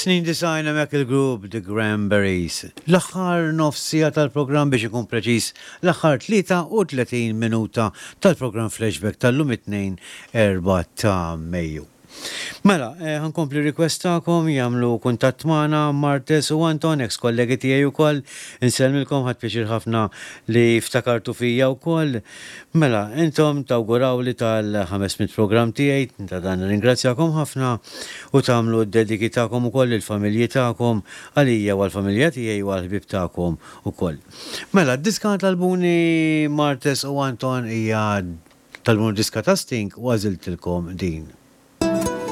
Snin 90 hemmhekk il-grupp The Cranberries. L-aħħar nofs siegħa tal-programm biex ikun preċiż l-aħħar 33 minuta tal-programm Flashback tal-lum it-Tnejn 4 ta' Mejju. Mela, ħa nkompli request tagħkom jagħmlu kuntatt magħna Martes u Anton, ex kollegi tiegħi wkoll. Insellmilkom ħadt pjaċir ħafna li ftakartu fija wkoll. Mela, intom tawgurawli tal-500 programm tiegħi, ta' dan nirringrazzjakom ħafna u tagħmlu d-dediki tagħkom ukoll lill-familji tagħkom, għalija u għall-familja tiegħi u għall-ħbieb tagħkom ukoll. Mela, d-diska talbuni Martes u Anton hija talbuni diska ta' Sting u għażiltilkom din.